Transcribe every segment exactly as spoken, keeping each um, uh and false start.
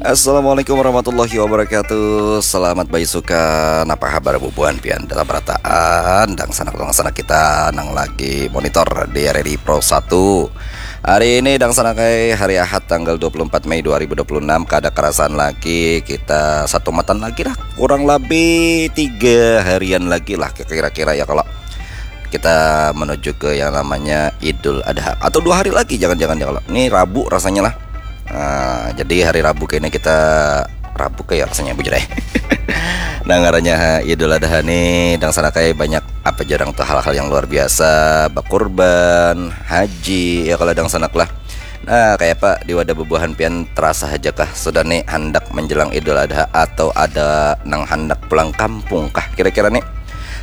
Assalamualaikum warahmatullahi wabarakatuh. Selamat baisukan. Apa habar bubuhan pian dalam rataan? Dangsanak-dangsanak kita nang lagi monitor di R R I Pro satu. Hari ini dangsanak ai, hari Ahad tanggal dua puluh empat Mei dua ribu dua puluh enam, kada karasan lagi kita satu matan lagi lah. Kurang lebih tiga harian lagi lah kira-kira ya kalau kita menuju ke yang namanya Idul Adha atau dua hari lagi jangan-jangan ya kalau ini Rabu rasanya lah. Nah, jadi hari Rabu kayaknya kita Rabu kayak rasanya bujur eh. Nah ngarannya Idul Adha nih dangsanak ai banyak apa jarang tuh hal-hal yang luar biasa, bakurban, haji ya kalau dangsanak lah. Nah, kayak apa di wadah bubuhan pian terasa aja kah sudah nih hendak menjelang Idul Adha atau ada nang hendak pulang kampung kah kira-kira nih?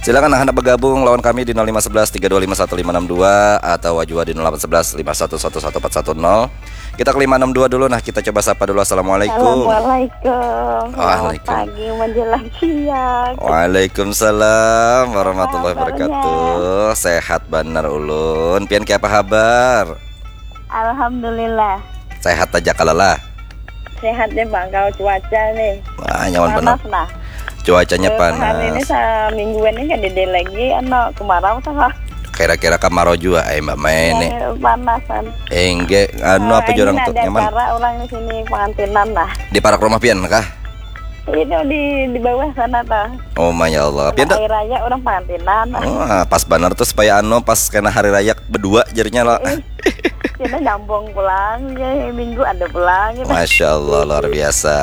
Silakan nang hendak bergabung lawan kami di nol lima sebelas tiga dua lima satu lima enam dua atau jua di nol delapan sebelas lima satu satu satu empat satu nol. Kita ke lima enam dua dulu nah, kita coba sapa dulu. Assalamualaikum. Assalamualaikum. Selamat Waalaikum. Pagi menjelang siang. Waalaikumsalam warahmatullahi Apa kabarnya? Wabarakatuh. Sehat banar ulun. Pian kayak apa habar? Alhamdulillah. Sehat aja kalau lah. Sehat deh bang, kalau cuaca nih. Wah, nyaman benar. Panas lah. Cuacanya beberapa hari ini panas. Semingguan ini kan dede lagi ano kemarau sama. Kira-kira kemarau juga, eh Mbak Mai ini. Yang panasan. Enggak, anu apa ini jorang tuh ada nyaman? Acara orang di sini pengantinan lah. Di parak rumah pian kah? Itu di di bawah sana tuh. Oh my Allah. Pian tuh. Hari raya orang pengantinan. Oh, pas benar tuh supaya anu pas kena hari raya berdua jadinya lo. Kita nyambung pulang ya, minggu ada pulang gitu. Masya Allah luar biasa.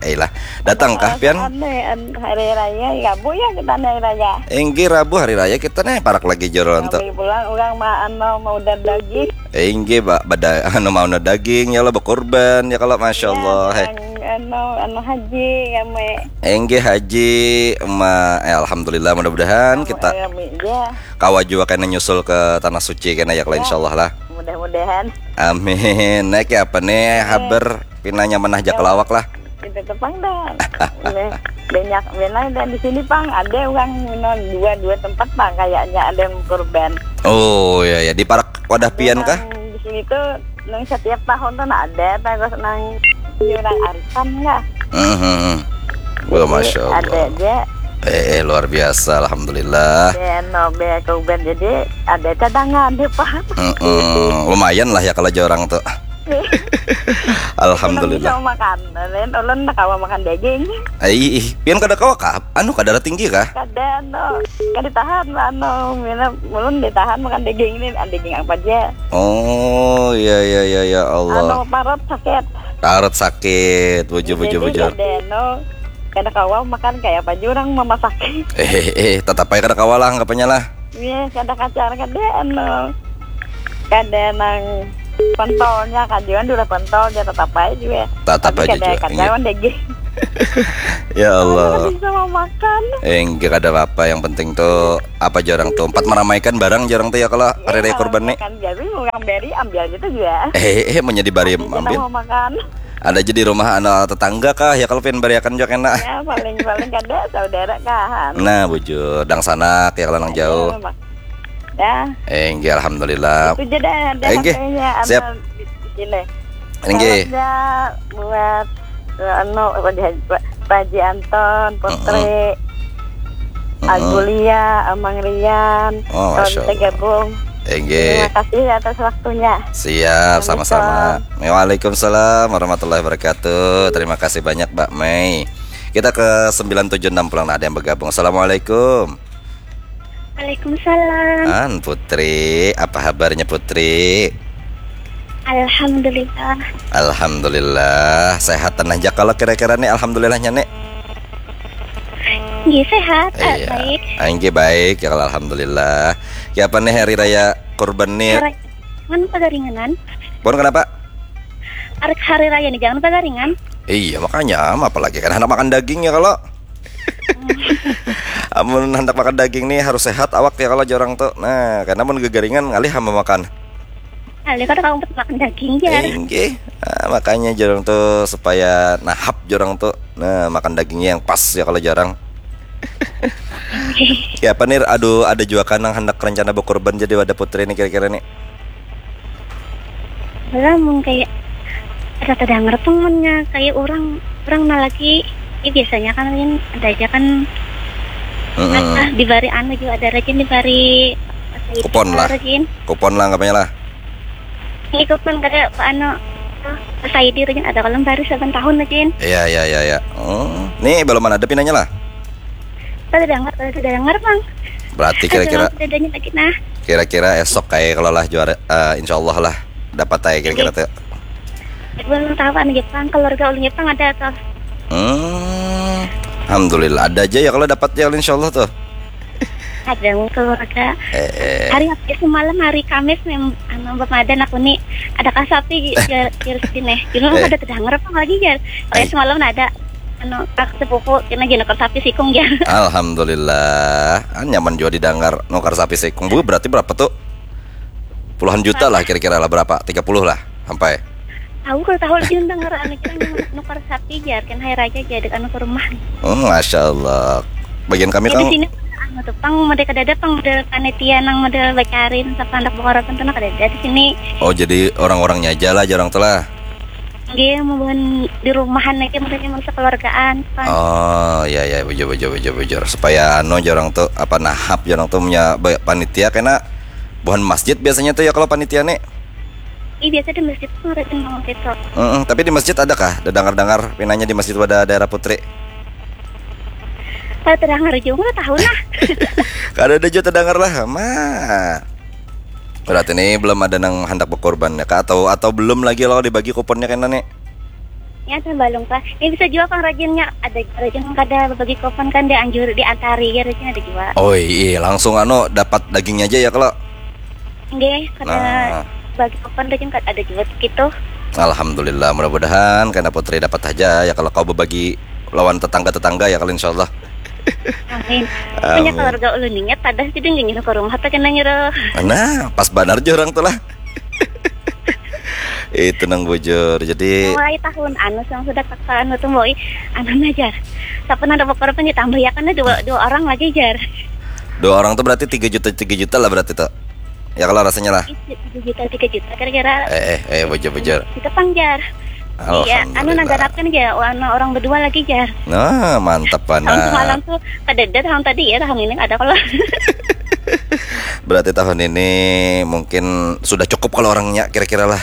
Eh lah, datang kah pian? Hari raya ya bu ya kita hari raya. Enggih Rabu hari raya kita nih parak lagi joron tuh. Kami pulang orang ma anu mau udah daging. Enggih bak bada anu mau udah daging ya lo berkorban ya kalau masya Allah. Ya, heh. Anu anu haji kami. Enggih haji ma eh, alhamdulillah mudah-mudahan kita. Kami aja. Kawa jua kena nyusul ke tanah suci kena ya kalau ya. Insya Allah lah. Mudah-mudahan. Amin. Naik ya apa nih haber pinanya menah jak lawak lah. Itu tuh pang dah. Banyak benar dan di sini pang ada orang minum dua dua tempat pang kayaknya ada yang kurban. Oh ya ya di parak wadah pian kah? Di sini tuh nang setiap tahun tuh nah ada terus nang orang arisan lah. Hmm. Wah, masya Allah. Ada aja. Eh, eh, luar biasa, alhamdulillah. Ya, no, be, kurban jadi ada cadangan deh pak. Mm-mm. Lumayan lah ya kalau jorang tuh. Alhamdulillah. Bisa makan, lain ulun nak kawa makan daging. Ai, ih, pian kada kawa kah? Anu kada tinggi kah? Kada anu, kada tahan anu, mina ulun ditahan makan daging ini, daging apa aja. Oh, iya iya iya ya Allah. Anu parut sakit. Parut sakit, bujur bujur bujur. Kada anu, kada kawa makan kayak apa jurang memasak. Eh eh eh, tetap aja kada kawa lah anggapnya lah. Iya, kada kacar kada anu. Kada nang pentolnya kan juga dulu pentol dia tetap aja juga. Tetap aja juga. Kada kacawan daging. Ya Allah. Bisa mau makan. Eh, enggak ada apa-apa yang penting tuh apa jarang tuh empat meramaikan barang jarang tuh ya kalau hari raya kurban nih. Kan jadi orang beri ambil gitu juga. Eh eh menjadi bari ambil. Mau makan. Ada aja di rumah anak tetangga kah ya kalau pian bariakan jua kena. Ya paling paling kada saudara kahan. Nah bujur dang sanak ya kalau nang jauh. Ya. Eh enggak alhamdulillah. Itu aja dah ada eh, enggak. Siap. Di sini. Enggak. Salamnya buat eh, anu Pak Haji Anton, Putri, Agulia, Amang Rian, oh, Masya Allah. Gabung. Enggak. Terima kasih atas waktunya. Siap, sama-sama. Waalaikumsalam warahmatullahi wabarakatuh. Terima kasih banyak Mbak Mei. Kita ke sembilan tujuh enam pulang nah, ada yang bergabung. Assalamualaikum. Waalaikumsalam. An Putri, apa kabarnya Putri? Alhamdulillah. Alhamdulillah, sehat tenang aja kalau kira-kira nih alhamdulillahnya nih. Iya sehat, iya. Baik. Anggi baik ya kalau alhamdulillah. Ya apa nih hari raya kurban nih? Mana pagaringanan? Pun kenapa? Arek hari raya nih jangan pagaringan. Iya makanya, apalagi kan anak makan daging ya kalau. Amun hendak makan daging nih harus sehat awak ya kalau jorang tuh. Nah, karena mun gegaringan ngalih hamba makan. Ngalih kada kamu makan daging ya. Inggih. Nah, makanya jorang tuh supaya nahap jorang tuh. Nah, makan dagingnya yang pas ya kalau jorang. Ya apa nih aduh ada juga kan yang hendak rencana berkorban jadi wadah putri nih kira-kira nih. Lah mun kayak Ada terdengar pang munnya kayak orang, orang nah lagi, ya biasanya kan, Rin, ada aja kan, Heeh. Apa, dibari anu juga ada rajin dibari apa itu, Kupon lah. Rajin. Kupon lah anggapnya lah. Ini kupon kada apa anu, apa, saya di rajin ada kalau bari saban tahun rajin. Iya, iya, iya, iya. Oh, nih belum ada pinanya lah. Kada dengar, kada dengar, Bang. Berarti kira-kira Ada lagi nah. Kira-kira esok kayak kalau lah juara, eh, insya Allah lah dapat aja kira-kira tuh. Belum tahu anu Jepang, keluarga ulun Jepang ada tuh. Hmm, alhamdulillah ada aja ya kalau dapat ya insya Allah tuh. Ada keluarga. Eh, eh. Hari apa semalam hari Kamis mem anu bamadan aku nih ada kasapi jar jar sini. Dulu Eh. Ada terdengar apa lagi jar. Kayak Ai. Semalam ada anu kak sepupu kena jenukar sapi sikung jar. Alhamdulillah, ah, nyaman juga didengar nukar sapi sikung. Bu, berarti berapa tuh? Puluhan juta lah kira-kira lah berapa? Tiga puluh lah sampai. Tahu kalau tahu lagi dengar anu kita nukar sapi jar kan hari raja jadi anu ke rumah. Hmm, Masya Allah. Bagian kami Ya, di kan sini anu tuh pang model kada ada pang model panitia nang model bacarin siapa anak bokor apa tuh nah kada ada di sini. Oh, jadi orang-orangnya aja lah, jarang tuh lah. Dia mau di rumahan aja modelnya mau sekeluargaan kan. Oh, ya, ya, bujur, bujur, bujur, bujur. Supaya anu jarang tuh apa nahap jarang tuh punya ba- panitia kena buhan masjid biasanya tuh ya kalau panitia nih. Ih biasa di masjid tuh ngerasain banget itu. Mm-mm, tapi di masjid adakah? Ada dengar-dengar pinanya di masjid pada daerah putri. Kalau terdengar juga nggak tahu nah. Kada ada juga terdengar lah, ma. Berarti nih belum ada nang hendak berkorban ya kak? Atau atau belum lagi lo dibagi kuponnya kena nih? Ya ada balung pak. Ini bisa juga kang rajinnya ada rajin kada bagi kupon kan dianjur diantari ya rajin ada juga. Oh iya, langsung anu dapat dagingnya aja ya kalau. Nggih, kada Nah. Bagi kupon rajin kada ada juga gitu. Alhamdulillah, mudah-mudahan kena putri dapat aja ya kalau kau berbagi lawan tetangga-tetangga ya kalau insyaallah. Amin. Amin. Punya keluarga ulun niat pada sih dia nyuruh ke rumah tuh kena nyuruh. Nah, pas banar je orang tuh lah. Itu nang bujur. Jadi Mulai tahun anu yang sudah kakak anu tuh boy anu ajar. Tapi nang ada bokor pun ditambah ya karena dua dua orang lagi jar. Dua orang tuh berarti tiga juta tiga juta lah berarti tuh. Ya kalau rasanya lah. Tiga juta tiga juta kira-kira. Eh eh eh bujur bujur. Kita pang jar. Iya, anu nang Alhamdulillah. Ganapkan aja anu orang berdua lagi jar. Nah, mantap Tahun semalam banget. Tuh kada ada tahun tadi ya tahun ini ada kalau. Berarti tahun ini mungkin sudah cukup kalau orangnya kira-kira lah.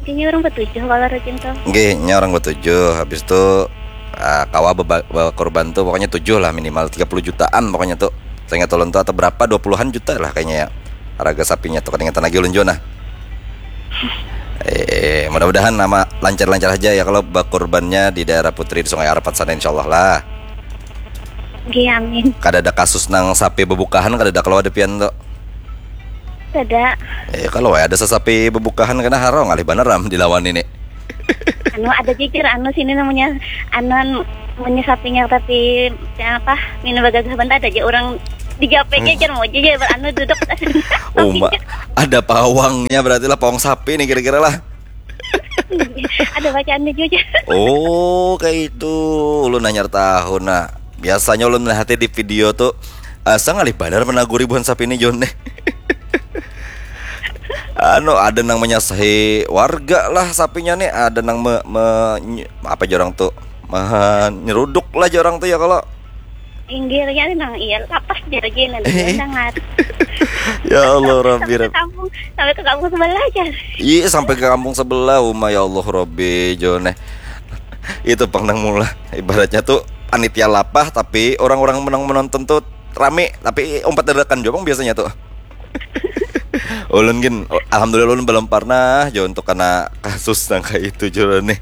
Kayaknya orang bertujuh kalau rajin tuh. Nggih, nya orang bertujuh. Habis itu ah, kawa beba- berkorban tuh pokoknya tujuh lah minimal tiga puluh jutaan pokoknya tuh. Saya nggak tahu tuh atau berapa dua puluhan juta lah kayaknya ya. Harga sapinya tuh keringatan lagi ulun jua nah. Eh, mudah-mudahan nama lancar-lancar aja ya kalau berkorbannya di daerah Putri di Sungai Arapat sana insyaallah lah. Nggih amin. Kada ada kasus nang sapi bebukahan kada ada kalau ada pian tuh. Kada. Eh kalau ada sesapi bebukahan kena harau ngalih banar am dilawan ini. Anu ada jujur anu sini namanya anu namanya sapinya tapi apa minum bagagah bentar aja orang di J P G jar mau aja jar anu duduk. Uma ada pawangnya berarti lah pawang sapi nih kira-kira lah. Ada bacaannya juga. Oh kayak itu. Ulun nanyar tahu nah. Biasanya ulun melihatnya di video tuh asa ngalih banar menaguri buhan sapi ini John nih. Anu ada nang menyasahi warga lah sapinya nih ada nang me, me- ny- apa jorang tuh menyeruduk lah jorang tuh ya kalau Inggirnya nang iya lapas dia lagi nanti Eh. Dengar. Ya Allah Rabbi Sampai ke Rabbi. Kampung sampai ke kampung sebelah aja. Iya sampai ke kampung sebelah uma ya Allah Rabbi John eh. Itu pang nang mula ibaratnya tuh panitia lapah tapi orang-orang menang menonton tuh rame tapi umpat dadakan juga pang biasanya tuh. Ulun gin, alhamdulillah ulun belum pernah jo untuk kena kasus nang kayak itu jo nih.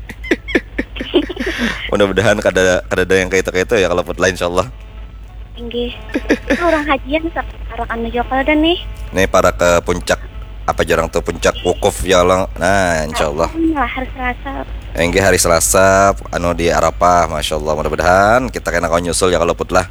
Mudah-mudahan kada kada ada yang kayak itu kayak itu ya kalau put lain insyaallah. Inggih. Itu orang hajian sekarang anu juga kalau ada nih. Nih para ke puncak apa jarang tuh puncak wukuf ya Allah. Nah, insyaallah. Lah hari Selasa. Enggih hari Selasa anu di Arafah, masyaallah mudah-mudahan kita kena kau nyusul ya kalau put lah.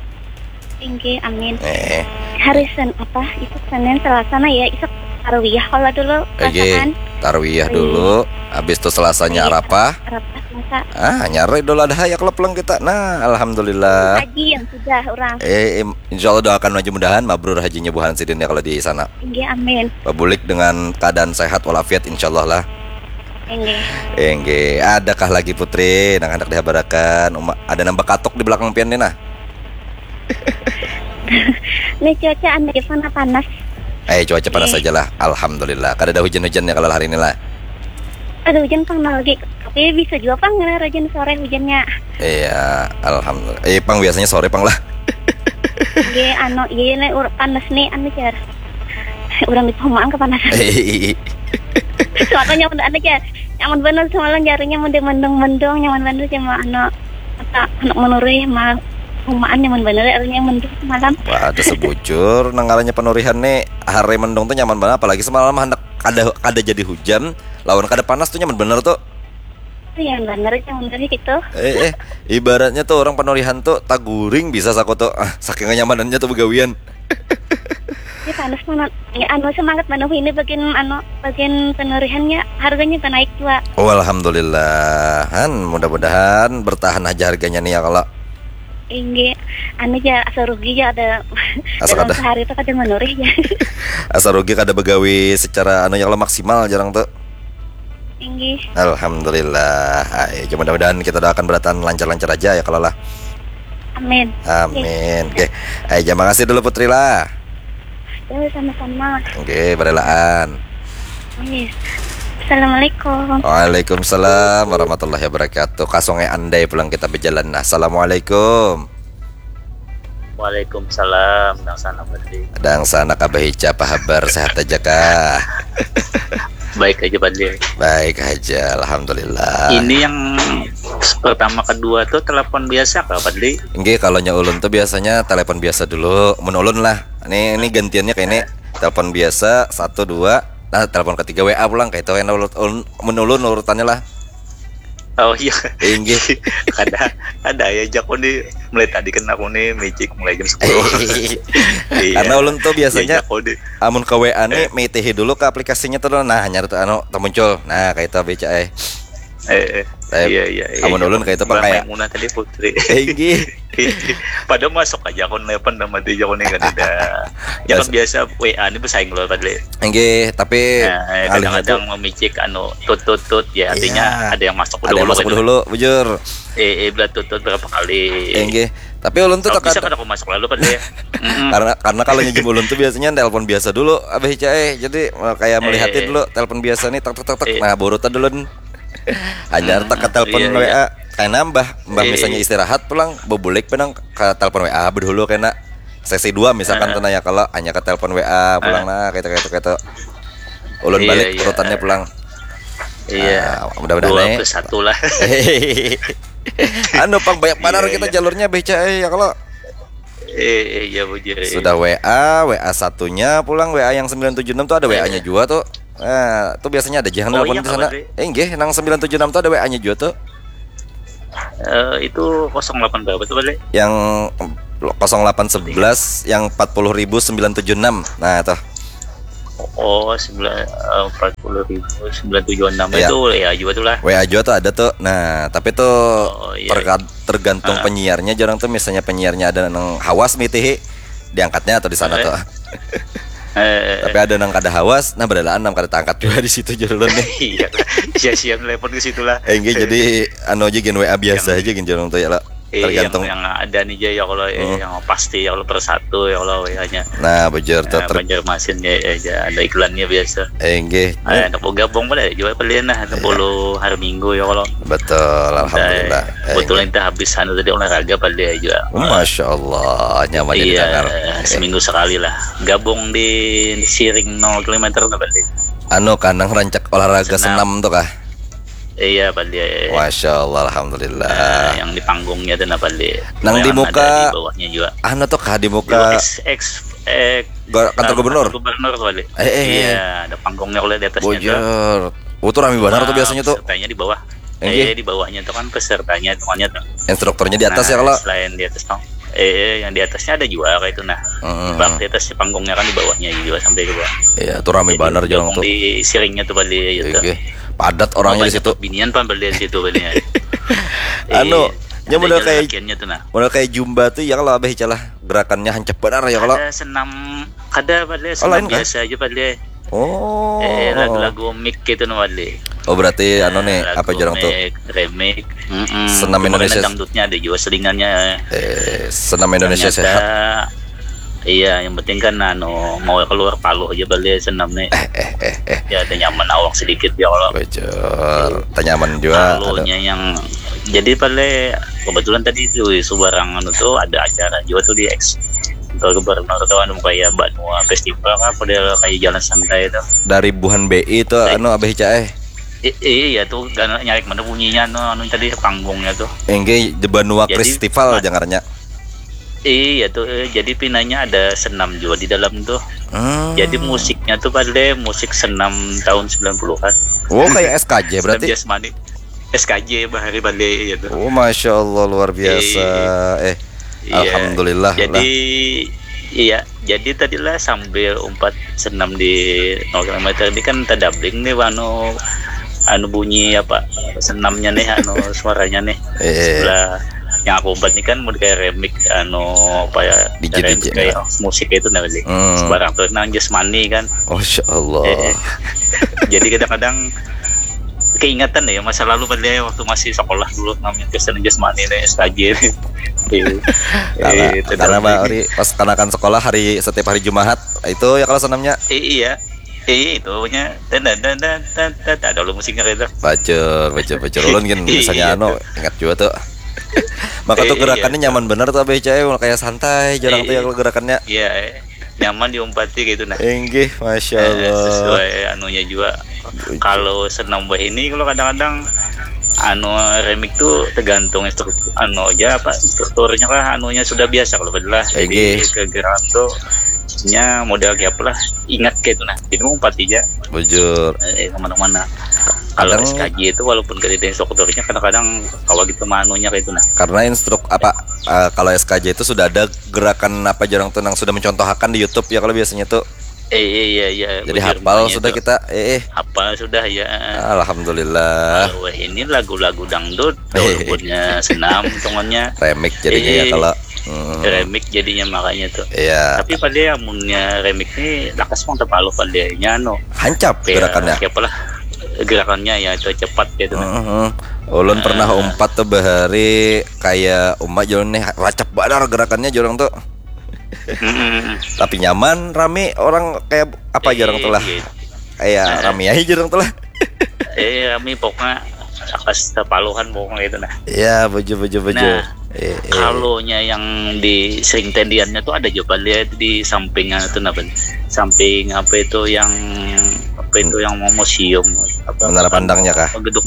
Inggih amin. Eh, Hari Sen apa itu Senin Selasa nah ya isuk tarwiyah kalau dulu Oke, perasaan tarwiyah dulu. Habis itu selasanya Iya. Arafah. Arafah Selasa. Ah, nyari Idul Adha ya kalau pulang kita. Nah, alhamdulillah. Haji yang sudah orang. Eh, im- insya Allah doakan mudah-mudahan mabrur hajinya Buhan Sidin ya kalau di sana. Inggih amin. Babulik dengan keadaan sehat walafiat insya Allah lah. Inggih. Inggih, adakah lagi Putri nang handak dihabarakan? Uma, ada nang bakatuk di belakang pian ni nah. Nih cuaca anu aja pang panas. Eh, cuaca panas Nih. Aja lah. Alhamdulillah. Kada ada hujan-hujan ya kalau hari ini lah. Ada hujan pang nah lagi. Tapi bisa juga pang ngena hujan sore hujannya. Iya, alhamdulillah. Eh, pang biasanya sore pang lah. Iya, anu, iya nih ur- panas nih anu jar. Orang di perumahan kepanasan. Soalnya nyaman anu jar. Nyaman bener semalam jarinya mendung-mendung, nyaman bener cuma anu apa anak menurih mah rumahan nyaman bener ya artinya mendung semalam. Wah, ada sebujur nang ngarannya penurihan nih, hari mendung tuh nyaman banget, apalagi semalam hendak kada kada jadi hujan, lawan kada panas tuh nyaman bener tuh. Iya bener nyaman bener gitu. Eh, eh, ibaratnya tuh orang penurihan tuh taguring bisa saku tuh, ah, saking kenyamanannya tuh begawian. Ini panas mana? Ya, anu semangat mana ini bagian anu bagian penurihannya harganya kan naik juga. Oh, alhamdulillah. Han, mudah-mudahan bertahan aja harganya nih ya kalau. Inggih, anu aja asa rugi aja ada asa kada sehari itu kada menurih aja. Asa rugi kada begawi secara anu ya kalau maksimal jarang tuh. Inggih. Alhamdulillah. Ay, mudah-mudahan kita doakan beratan lancar-lancar aja ya kalau lah. Amin. Amin. Oke. Ay, terima kasih dulu Putri lah. Ya, sama-sama. Oke, berelaan. Iya. Assalamualaikum. Waalaikumsalam warahmatullahi wabarakatuh. Kasonge andai pulang kita berjalan. Nah, assalamualaikum. Waalaikumsalam, dang sana Padli. Dang sana kabah ica apa habar, sehat aja kah? Baik aja Padli. Baik aja, alhamdulillah. Ini yang pertama kedua tuh telepon biasa kah Padli? Enggak, kalau nya ulun tuh biasanya telepon biasa dulu, mun ulun lah. Ini ini gantiannya kayak ini, telepon biasa satu dua, nah telepon ketiga W A pulang kayak itu yang ulun, ulun, mun ulun urutannya lah. Oh iya. Inggih. Kada ada ya jaku nih mulai tadi kan aku nih magic mulai jam sepuluh. Iya. Karena ulun tuh biasanya ya, amun ke W A nih eh. Mitihi dulu ke aplikasinya tuh nah hanya tuh anu muncul. Nah, kayak itu B C A. Eh, eh. Iya iya iya. Amun ulun kayak itu pakai. Maimunah tadi Putri. Inggih. Padahal masuk aja akun lepen nama dia jago nih kan ada. Ya kan biasa W A ini bersaing loh tadi. Inggih, tapi nah, kadang-kadang memicik anu tut tut tut ya artinya iya. Ada yang masuk ada dulu. Ada yang masuk dulu, bujur. Eh, eh belah tut tut berapa kali. Inggih. Tapi ulun tuh tekan. Bisa kan aku masuk lalu kan dia. Karena karena kalau nyejum ulun tuh biasanya telepon biasa dulu abah Ica eh. Jadi kayak melihatin eh. Dulu telepon biasa nih tak tak tak tak. Eh. Nah, burutan dulu. Hanyar tak ke telepon iya, W A. Iya. Kayak nambah, mbah iya, misalnya iya. Istirahat pulang, bebulik penang ke telepon W A bedulu kena sesi dua misalkan uh, tenaya kalau hanya ke telepon W A pulang uh, nah kayak kayak kayak ulun iya, balik iya. Urutannya pulang iya nah, mudah-mudahan dua plus satu lah anu pang banyak banar iya, kita iya. Jalurnya beca eh, ya kalau eh, eh, iya, bujur, iya. Sudah W A W A satunya pulang W A yang sembilan tujuh enam tuh ada iya, W A-nya iya. Juga tuh eh, tuh biasanya ada jihan oh, iya, di sana eh, enggih nang sembilan tujuh enam tuh ada W A-nya juga tuh Uh, itu kosong delapan berapa tuh balik? Yang kosong delapan sebelas yang empat puluh ribu sembilan tujuh enam. Nah, itu. Oh, sembilan eh, empat puluh ribu sembilan tujuh enam ya. Itu W A juga tuh lah. W A juga tuh ada tuh. Nah, tapi tuh oh, iya. Tergantung ah. Penyiarnya jarang tuh misalnya penyiarnya ada nang hawas mitihi diangkatnya atau di sana eh. Tuh. Eh, tapi ada nang kada hawas, nah badalaan nang kada tangkat juga di situ jurulun nih. Iya, sia-sia telepon ke situ lah. Eh, enggak, jadi anu aja gin W A biasa yang, aja gin jurulun tuh ya lah. Eh, tergantung yang, yang ada nih aja ya kalau hmm. Yang pasti ya kalau persatu ya kalau W A-nya. Nah, bujur tuh. Nah, ter- Banjarmasin ya, ya, ya ada iklannya biasa. Eh, enggak. Nah, ada gabung pada juga belian lah, ada iya. Bolu hari Minggu ya kalau. Betul, alhamdulillah. Nah, betul itu habis sana tadi olahraga pada juga. Masya Allah, nyaman iya, didengar. Seminggu sekali lah. Gabung di Siring nol kilometer apa sih? Anu kanang rancak olahraga senam, senam tuh kah? Iya, Pak Dia. Masya Allah, alhamdulillah. Nah, yang di panggungnya tuh apa Dia? Nang di muka. Di bawahnya juga. Anu tuh kah di muka? Di X, X, X, kantor gubernur. Kantor gubernur kali. Eh, eh, iya, eh. Ada panggungnya kalau di atasnya. Bujur. Oh, tuh rame banget tuh biasanya tuh. Pesertanya di bawah. Eh, di bawahnya tuh kan pesertanya semuanya tuh. Instrukturnya di atas nah, ya kalau. Selain di atas tuh. Eh, yang di atasnya ada juga kayak itu nah. Hmm. Bak di atas panggungnya kan di bawahnya juga sampai ke bawah. Iya, tuh rame banget jalan tuh. Di siringnya tuh balik gitu. Oke. Padat orangnya di situ. Binian pan balik di situ binian. Anu, nya modal kayak tuh nah. Modal kayak jumba tuh ya kalau abah icalah gerakannya hancep benar ya kalau. Ada senam, ada balik senam oh, lain, biasa kan? Aja balik. Oh. Eh, lagu-lagu mix gitu no, Wadli. Oh, berarti anu nih, apa jorang tuh? Remix. Mm-mm. Senam Cuma Indonesia. Kena dangdutnya ada juga selingannya. Eh, senam Indonesia Ternyata, sehat. Iya, yang penting kan anu mau keluar paluh aja balik senam nih. Eh, eh, eh, eh. Ya ada nyaman awak sedikit ya kalau Bocor. Tanyaman juga ada. Paluhnya yang jadi paling kebetulan tadi itu subarang anu tuh ada acara juga tuh di X kantor gubernur tuh anu kayak Banua Festival kan, padahal kayak jalan santai itu. Dari Buhan B I itu anu Abah Ica eh. I- iya tuh gak nyari mana bunyinya anu, anu tadi panggungnya tuh. Inggih, di Banua Jadi, Festival ma- jangarnya. Iya tuh, eh, jadi pinanya ada senam juga di dalam tuh. Hmm. Jadi musiknya tuh pada musik senam tahun sembilan puluhan. Oh, kayak S K J Senam berarti. Jasmani. S K J bahari balik gitu. Oh, masya Allah, luar biasa. Eh, Iya. Alhamdulillah Jadi lah. Iya, jadi tadilah sambil umpat senam di nol kilometer ini kan tadabling nih anu anu bunyi apa senamnya nih anu suaranya nih. Eh. Sebelah yang aku umpat ini kan mau kayak remix anu apa ya D J, remix D J, kayak nah. Musik itu namanya. Hmm. Sebarang tuh nang jasmani kan. Masya Allah. Eh, jadi kadang-kadang keingetan ya masa lalu pada waktu masih sekolah dulu namanya Kristen jasmani nih S K J nih. Iya. Karena, Eh, karena tadabling. Bari pas kanakan sekolah hari setiap hari Jumahat itu ya kalau senamnya. Eh, iya. Eh, itu punya dan dan dan dan dan dan ada lo musiknya kayak itu. Bacur, bacur, bacur. Ulun kan Iya, misalnya anu tuh. Ingat juga tuh. Maka Eh, tuh iya, gerakannya tuh. Nyaman bener tuh Abah Ica, eh, kayak santai jorang tuh ya Iya. Kalau gerakannya. Iya, eh. Nyaman diumpati gitu nah. Inggih, masya Eh, Allah. Sesuai anunya juga. Kalau senam bah ini kalau kadang-kadang anu remix tuh tergantung instruktur anu aja apa instrukturnya kah anunya sudah biasa kalau badilah jadi Inggih. Kegerakan tuh nya model kayak apa lah ingat kayak itu nah jadi mau empat aja Bujur. Eh, kemana-mana kalau Kadang- S K J itu walaupun gak ada instrukturnya kadang-kadang kalau gitu manunya kayak itu nah. Karena instruk apa eh, kalau S K J itu sudah ada gerakan apa jorang tuh nang sudah mencontohakan di YouTube ya kalau biasanya tuh. Eh iya iya iya. Jadi Bujur, hafal makanya sudah itu. Kita. Eh, eh. Hafal sudah ya. Alhamdulillah. Kalau ini lagu-lagu dangdut, Eh. walaupun senam hitungannya Remix jadinya ya Eh. kalau. Hmm. Remix jadinya makanya tuh. Iya. Tapi pada amunnya remix ini lakas pang terpalu pada nya no. Hancap Kayak- gerakannya. Kayak apalah gerakannya ya itu cepat gitu nah. Heeh. Ulun pernah Ah. umpat tuh bahari kayak umat jalan nih racap badar gerakannya jorang tuh. Mm-mm. Tapi nyaman, rame orang kayak apa Eh, jorang tuh lah. iya. Iya, rame aja jorang tuh lah. Eh rame pokoknya lakas terpaluhan pokoknya itu nah. Iya, baju baju baju. Nah, Eh, eh. Kalau nya yang di sering tendiannya tuh ada juga lihat di sampingnya tuh apa? Samping apa itu yang apa itu yang mau museum apa Menara Pandangnya kah? Gedung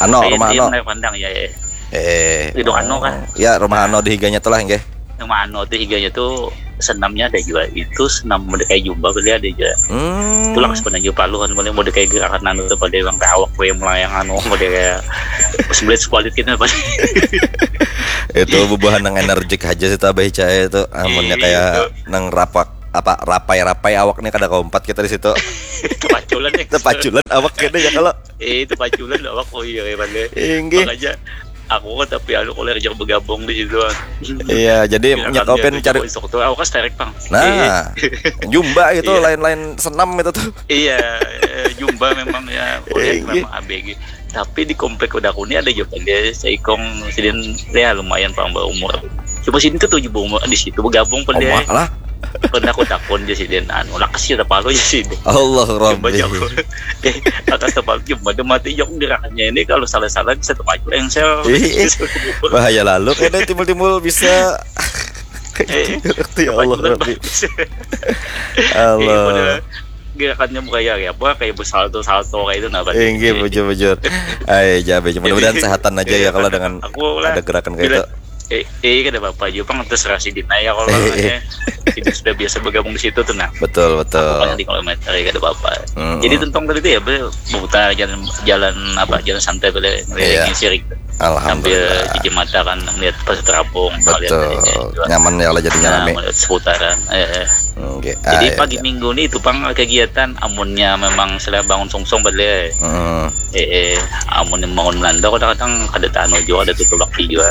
Ano, eh, rumah iya, Ano. Menara Pandang ya. Eh. Eh, Gedung Ano kah? Ya, rumah Ano di higanya tuh lah, nggih. Rumah Ano tuh higanya tuh senamnya ada juga. Itu senam Mordecai Jumba beli ada juga. Hmm. Tulang sebenarnya juga paluhan boleh Mordecai gerakan anu tuh pada yang kayak awak kue melayang anu pada kayak sebelit sekualit gitu pada. Itu bubuhan nang energik aja sih tuh Abah Ica itu. Amunnya Iya, kayak itu. Nang rapak apa rapai-rapai awak nih kada kaumpat kita di situ. Itu paculan ya. Itu paculan awak kita ya kalau. Eh itu paculan awak oh iya kayak mana. Inggih. Makanya aku kan tapi anu kalau kerja bergabung di situ. Iya, jadi Bilang nyakau dia pin tuh cari. Jawa Instruktur, aku kan sterek pang. Nah, jumba gitu Iya. Lain-lain senam itu tuh. Iya, eh, jumba memang ya, boleh Iya. Memang A B G. Tapi di komplek udah aku ini ada juga dia seikong sidin ya lumayan pang umur. Cuma sidin tuh tujuh umur di situ bergabung pun dia. Omak lah. Pernah aku takon dia sidin anu lakas kita palu aja sidin. Allah Coba Rabbi. jago. Eh, atas tempat cuma dia mati jok gerakannya ini kalau salah-salah bisa terpacu engsel. Ih, ih. Bahaya lalu kayaknya timbul-timbul bisa Eh, ya Allah Paculan Rabbi. bagus. Allah. Iya, pada gerakannya bukan ya kayak apa kayak bersalto-salto kayak itu nah. Pada. Inggih bujur-bujur. Ayo jabe mudah-mudahan sehatan aja ya Iya, kalau dengan aku lah ada gerakan kayak itu. Bilang, eh, eh, kada apa-apa juga pang terserah sidin aja kalau Eh, eh. makanya sidin sudah biasa bergabung di situ tuh nah. Betul Aku kan betul. Di kilometer ya kada apa-apa. Mm-mm. Jadi tentang tadi tuh ya be- berputar jalan jalan apa jalan santai boleh Iya. ngeliling sirik sambil Alhamdulillah. cuci mata kan ngeliat pasar terapung ngeliat Betul. tadi juga. Nyaman ya lah jadinya Nah, rame. Ngeliat seputaran. Eh, eh. Oke. Jadi ah, pagi ya, minggu ni itu pang kegiatan, amunnya memang sudah bangun sungsung balik. Hmm. Eh, eh, amun bangun melanda kadang-kadang kada tahu juga, ada tutulak juga.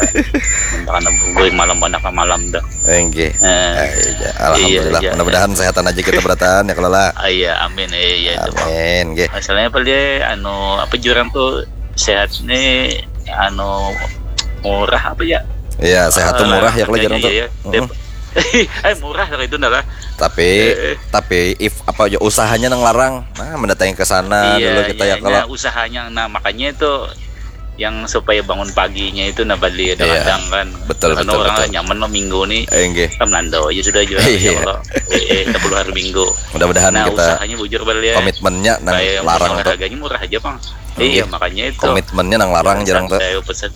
Karena gue malam banyak malam dah. Oke. Eh, ah, iya, alhamdulillah. Iya, mudah-mudahan sehatan aja kita berataan ya kalau lah. Ah, iya, amin. Eh, iya itu. Amin. Oke. Masalahnya apa dia, anu apa jurang tuh sehat nih, anu murah apa ya? Iya, sehat tuh murah ya kalau jurang tuh. Iya, iya. Eh, murah lah itu lah. Tapi eh, tapi if apa aja usahanya nang larang, nah mendatangi ke sana iya, dulu kita iya, ya kalau usahanya, nah makanya itu yang supaya bangun paginya itu nah balik iya, kadang kan betul betul orang betul. Nyaman lo minggu nih enggak kan melanda aja sudah juga iya. Kalau eh, eh, hari minggu mudah-mudahan nah, kita usahanya bujur balik ya. Komitmennya nang larang tuh harganya murah aja bang. Iya, makanya itu. Komitmennya nang larang jarang tuh. Saya pesan.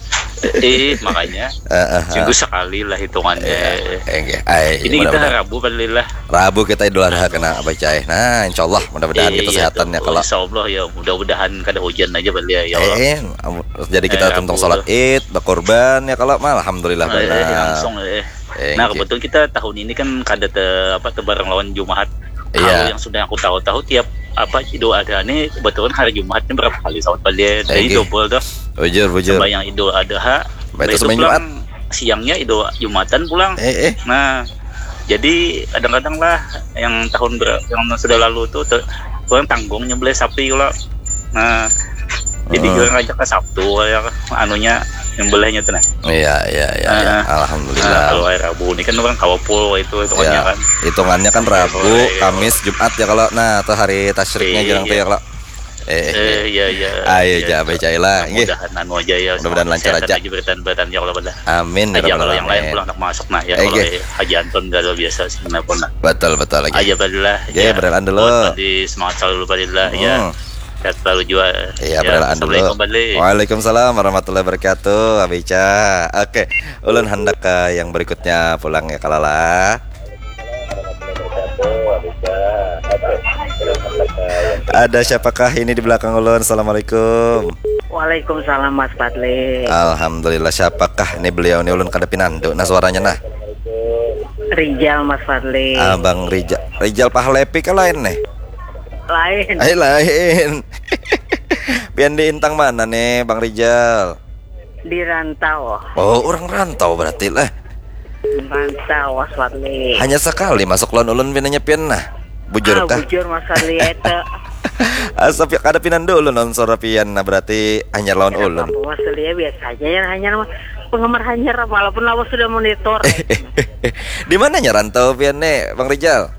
Eh, makanya. Minggu sekali lah hitungannya. Iya, iya. Ay, ini kita Rabu balik lah. Rabu kita Idul Adha kena apa cai. Nah, insya Allah mudah-mudahan kita sehatannya kalau. Insya Allah ya, mudah-mudahan kada hujan aja balik ya. Eh, jadi kita tuntung sholat Id, berkorban ya kalau mah alhamdulillah benar. Langsung eh. Nah, kebetulan kita tahun ini kan kada te, apa tebarang lawan Jumat. Iya. Kalau yang sudah aku tahu-tahu tiap apa Idul Adha ini kebetulan hari Jumat ini berapa kali salat balik. Jadi double tuh. Bujur, bujur. Sembahyang Idul Adha. Baik itu sembahyang Jumat. Siangnya Idul Jumatan pulang. Eh, eh. Nah, jadi kadang-kadang lah yang tahun ber, yang sudah lalu tuh ter, kurang tanggungnya beli sapi kalau. Nah, jadi hmm. Kurang ajak ke Sabtu ya anunya yang belahnya tuh nah. Iya, iya, iya. Nah, alhamdulillah. Nah, kalau hari Rabu ini kan orang kawapul itu hitungannya ya, kan. Hitungannya kan Rabu, ya, Kamis, Jumat ya kalau nah atau hari tasyriknya iya, jarang iya. Tuh ya kalau. Eh, eh, eh. Iya, iya. Ayo, ya, ja, becai lah. Mudah-mudahan anu aja ya. Mudah-mudahan lancar aja. Aja bertahan bertahan ya kalau pada. Amin. Aja kalau yang lain pulang tak masuk nah ya. Eh, kalau Haji Anton gak luar biasa sebenarnya pun. Betul, betul lagi. Aja badilah. Ya, berelaan dulu. Di semangat selalu badilah ya. Hmm. Sehat selalu juga. Iya, berelaan dulu. Assalamualaikum balik. Waalaikumsalam warahmatullahi wabarakatuh. Abica. Oke, ulun hendak ke yang berikutnya pulang ya kalau lah. Ada siapakah ini di belakang ulun? Assalamualaikum. Waalaikumsalam Mas Fadli. Alhamdulillah, siapakah ini beliau ini ulun kada pinandu nah suaranya nah. Rijal Mas Fadli. Abang Rijal. Rijal Pahlepi ke lain nih. Lain. Eh lain. Pian di intang mana nih Bang Rijal? Di rantau. Oh, orang rantau berarti lah. Rantau Mas Fadli. Hanya sekali masuk lawan ulun pinanya pian nah. Bujur kah? Bujur Mas Fadli itu. Asa kada pinandu ulun nang suara pian nah berarti hanyar lawan ulun. Mas Fadli ya biasa aja ya hanyar penggemar hanyar walaupun lawas sudah monitor. Di mananya rantau pian nih Bang Rijal?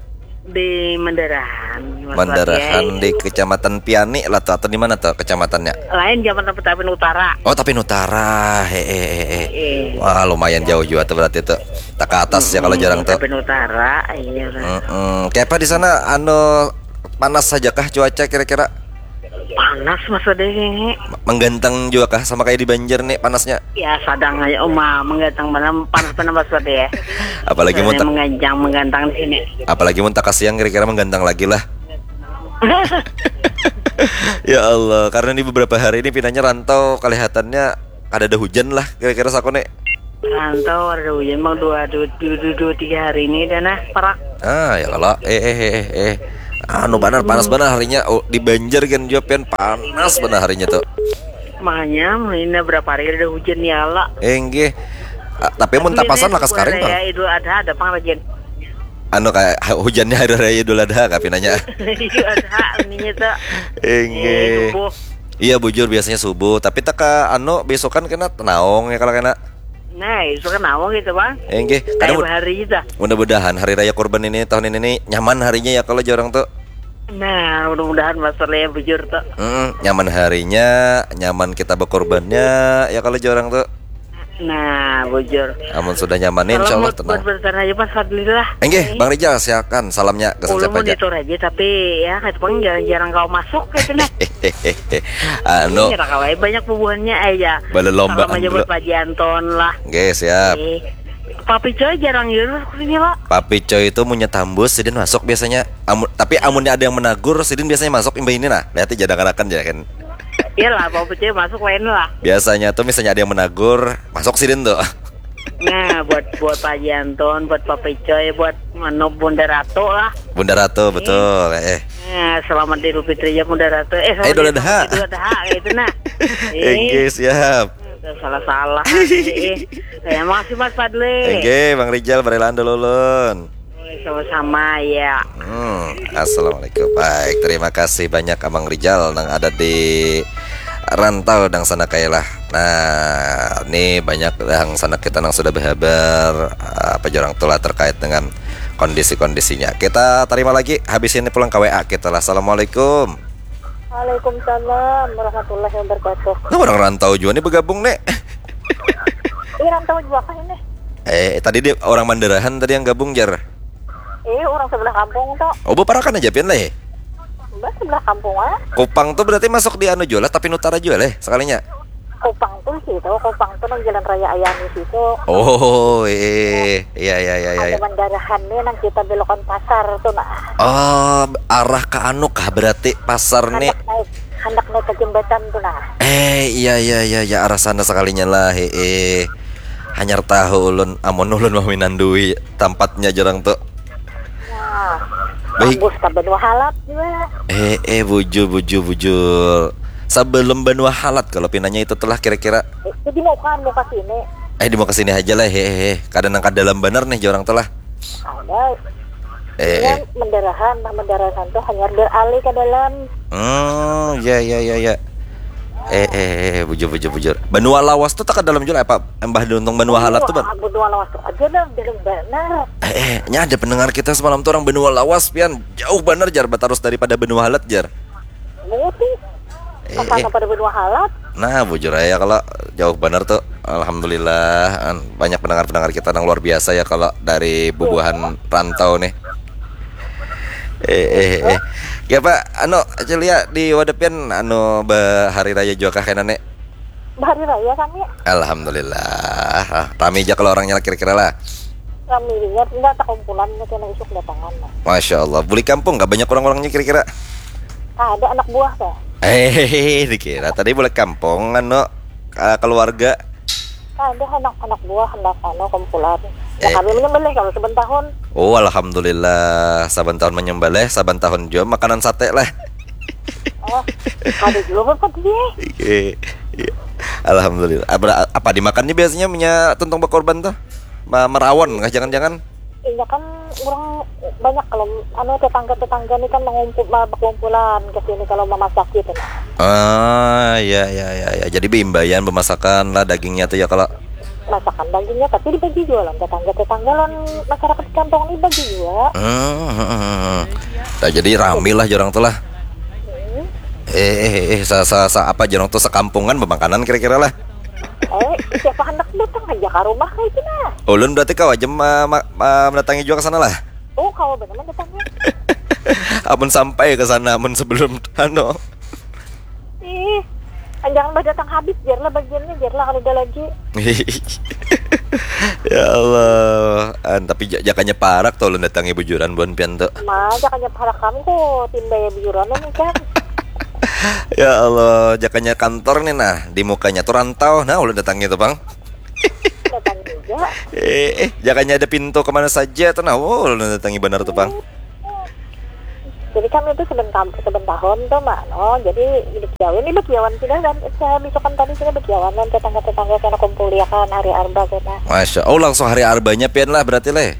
Di Mandarahan. Mandarahan di Kecamatan Piani lah tuh atau di mana tuh kecamatannya? Lain Kecamatan Petapin Utara. Oh Tapin Utara, hehehe. Wah lumayan jauh juga tuh berarti tuh. Tak ke atas ya kalau jarang tuh. Tapin Utara, iya. Mm-mm. Kayak apa di sana anu panas saja kah cuaca kira-kira? Panas maksudnya ini. Menggantang juga kah sama kayak di Banjar nih panasnya? Ya sadang aja uma menggantang mana panas mana maksudnya ya. Apalagi mau menggantang menggantang di sini. Apalagi mau tak siang kira-kira menggantang lagi lah. Ya Allah, karena ini beberapa hari ini pinanya rantau kelihatannya kada ada hujan lah kira-kira saku nih. Rantau ada hujan bang dua dua dua, dua, dua tiga hari ini dan nah perak. Ah ya kalau eh eh eh eh. Anu banar panas banar harinya oh, di Banjar kan juga pian panas banar harinya tuh. Makanya ini berapa hari ada hujan ya Allah. Enggih. Ah, tapi mun tapasan lakas karing tuh. Ya Idul Adha ada pang lagi. Anu kayak hujannya hari raya Idul Adha kapi nanya. Idul Adha ininya tuh. Enggih. Iya bujur biasanya subuh tapi teka anu besokan kena tenaung ya kalau kena. Nah, itu kan awal gitu bang. Enggih, kayak hari itu. Mudah-mudahan hari raya kurban ini tahun ini nih, nyaman harinya ya kalau jorang tuh. Nah, mudah-mudahan masalahnya bujur tuh. Mm, nyaman harinya, nyaman kita berkorbannya ya kalau jorang tuh. Nah, bujur. Amun sudah nyaman insya Allah tenang. Bertahan aja Mas Fadli lah. Enggih, Bang Rijal silakan salamnya ke siapa aja. Monitor aja tapi ya kayak jarang-jarang kau masuk kayak sini. Anu. Iya, kawai banyak bubuhannya aja. Balelomba aja buat Pak Anton lah. Oke, siap. Eh, Papi Coy jarang yur sini lo. Papi Coy itu punya tambus sidin masuk biasanya. Amun, tapi amunnya ada yang menagur sidin biasanya masuk imbah ini nah. Lihat aja dengarkan aja kan. Iyalah, Papi Coy masuk lain lah. Biasanya tuh misalnya ada yang menagur, masuk sidin tuh. Nah, buat buat Pak Haji Anton, buat Pak Picoy, buat anu Bunda Ratu lah. Bunda Ratu, betul. Eh, eh. Nah, selamat Idul Fitri ya Bunda Ratu. Eh, selamat Idul Adha. Idul Adha itu nah. Eh, Inggih, siap. Udah salah-salah. Eh, eh. Ya, makasih Mas Fadli. Inggih, Bang Rijal, barilaan dulu ulun. Oke, sama-sama ya. Hmm, assalamualaikum. Baik, terima kasih banyak Abang Rijal nang ada di rantau dang sana kailah. Nah, ini banyak dang sana kita nang sudah berhabar apa jorang tulah terkait dengan kondisi-kondisinya. Kita terima lagi habis ini pulang ke W A kita lah. Assalamualaikum. Waalaikumsalam warahmatullahi wabarakatuh. Nah, orang rantau juga nih bergabung nih. Ini rantau juga kah ini? Eh, tadi dia orang Mandarahan tadi yang gabung jar. Eh, orang sebelah kampung tuh. Oh, beparakan aja pian leh. Mbak sebelah kampung ah. Kupang tuh berarti masuk di anu juga lah, Tapin Utara juga leh sekalinya. Kupang tuh situ, Kupang tuh nang jalan raya Ayani situ. Oh, eh, iya iya iya iya. Ada Mandarahan nih nang kita belokan pasar tuh nah. Oh, arah ke anu kah berarti pasar nih? Hendak naik, hendak naik ke jembatan tuh nah. Eh, iya iya iya ya, arah sana sekalinya lah. Eh, hanyar tahu ulun, amun ulun maminandui tempatnya jorang tuh. Nah, Baik. Bagus ke Banua Halat juga. Eh, eh, bujur bujur bujur. Sebelum Banua Halat kalau pinanya itu telah kira-kira. Eh, Jadi mau kan mau ke sini. Eh, di mau ke sini aja lah. He he he. Kada nang ka dalam banar nih jorang tuh lah. Ada. Eh, Ya, eh. Mandarahan, nah Mandarahan tuh hanya beralih ke dalam. Hmm, ya ya ya ya. Eh, eh, eh, bujur bujur bujur. Banua Lawas tuh tak ke dalam juga apa? Embah Duntung Banua Halat tuh, Bang. Wah, Banua Lawas tuh aja dah dalam banar. Eh, eh, nya ada pendengar kita semalam tuh orang Banua Lawas pian, jauh banar jar batarus daripada Banua Halat jar. Mau sih. Eh, Kesana eh. Pada Banua Halat. Nah, bujur aja kalau jauh banar tuh. Alhamdulillah, an- banyak pendengar-pendengar kita yang luar biasa ya kalau dari bubuhan rantau nih. Eh, eh, eh. Ya Pak, anu, Celia di wadapian anu be- hari raya juga kah kena nih? Hari raya kami. Alhamdulillah. Ah, rami aja kalau orangnya lah kira-kira lah. Kami lihat enggak tak kumpulan kena isuk datangan lah. Masya Allah, beli kampung gak banyak orang-orangnya kira-kira? Ada anak buah kah? Eh, dikira tadi boleh kampung anu, eh, keluarga. Ada anak anak buah hendak anu kumpulan. Ya Eh. Kami menyembelih kalau saban tahun. Oh, alhamdulillah, saban tahun menyembelih, saban tahun juga makanan sate lah. Oh, ada juga bapak dia. Iya. Iya. Alhamdulillah. Apa, apa dimakannya biasanya punya tuntung berkorban tuh? Ma- Merawon kah jangan-jangan? Iya kan orang banyak kalau anu tetangga-tetangga nih kan mengumpul berkumpulan ke sini kalau memasak gitu. Ah, ya ya ya ya. Jadi beimbayan pemasakan lah dagingnya tuh ya kalau. Masakan dagingnya tapi dibagi juga lah tetangga-tetangga lah masyarakat di kampung ini bagi juga. Hmm, hmm, hmm, hmm. Nah, jadi rame lah jorang tuh lah. Eh, eh, eh, sa, sa, sa, apa jorang tuh sekampungan bemakanan kira-kira lah. Eh, siapa hendak datang aja ke rumah kayak gitu nah. Ulun berarti kau aja ma, ma, ma, mendatangi juga ke sana lah. Oh, kau benar datangnya. Amun sampai ke sana, amun sebelum anu. Ih, jangan bah datang habis biarlah bagiannya biarlah kalau ada lagi. Ya Allah. An, tapi ja- jakanya parak tuh ulun datangi bujuran buan pian tuh. Ma, jakanya parak kamu kok timba ya biuran nih kan. Ya Allah, jakanya kantor nih nah, di mukanya tuh rantau. Nah, ulun datangi tuh, Bang. Datang juga. Eh, eh, jakanya ada pintu kemana saja tuh nah. Oh, ulun datangi benar tuh, Bang. Jadi kami itu seben kam- seben tahun tuh mak no. Jadi hidup jauh ini bekiawan sudah kan. Saya bisukan tadi sudah bekiawan kan tetangga-tetangga kena kumpul ya kan hari arba kena. Masya Allah, langsung hari arbanya pian lah berarti leh.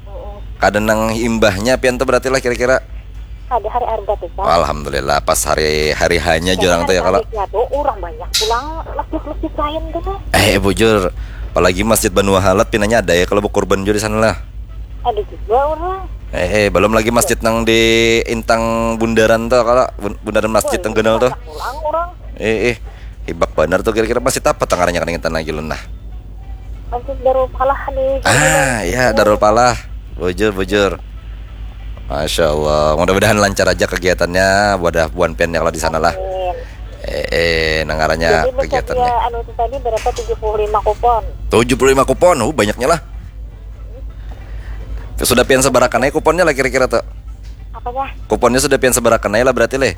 Mm-mm. Kada nang imbahnya pian tuh berarti lah kira-kira. Ada hari arba tuh kan. Alhamdulillah, pas hari hari hanya jorang tuh ya kalau. Habisnya tuh orang banyak pulang masjid-masjid lain tuh kan. Eh, bujur. Apalagi masjid Banua Halat pinanya ada ya kalau berkorban juga di sana lah. Ada juga orang. Eh, eh, belum lagi masjid nang di Intang Bundaran tuh kalau bun- Bundaran Masjid Tenggenal tuh. Banyak pulang orang. Eh, eh, hibak benar tuh kira-kira masjid apa tangarannya kan ingetan lagi lun nah. Masjid Darul Falah di. Ah, ya Darul Falah. Bujur, bujur. Masya Allah. Mudah-mudahan lancar aja kegiatannya. Wadah buan piannya kalau di sana lah. Amin. Eh, eh, nangarannya Jadi kegiatannya. Anu itu tadi berapa tujuh puluh lima kupon. Tujuh puluh lima kupon. Oh, banyaknya lah. Sudah pian sebarakan aja kuponnya lah kira-kira tuh. Apanya? Kuponnya sudah pian sebarakan aja lah berarti leh.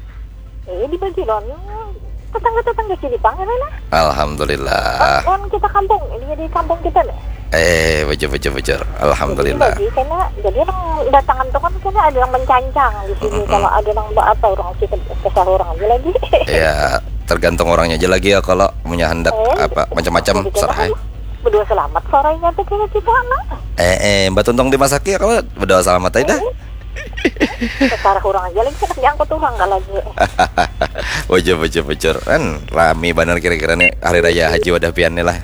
Eh dibagi don. Tetangga-tetangga sini pang ya lah. Alhamdulillah. Kan kita kampung, ini di kampung kita nih. Eh, bujur, bujur, bujur. Alhamdulillah. Jadi lagi, karena jadi orang datangan tuh kan, karena ada yang mencancang di sini. Mm-mm. Kalau ada yang apa, orang kita kesah orang aja lagi. Ya, tergantung orangnya aja lagi ya, kalau punya hendak eh, apa, macam-macam, jadi serah. Berdua selamat sorenya tuh, kira kita anak. Eh, eh, Mbak Tuntung dimasaki ya, kalau berdua selamat aja dah. Eh, sekarang orang aja lagi, diangkut orang nggak lagi. Bujur, bujur, bujur. Kan rami banar kira-kira nih hari raya haji wadah pian nih lah.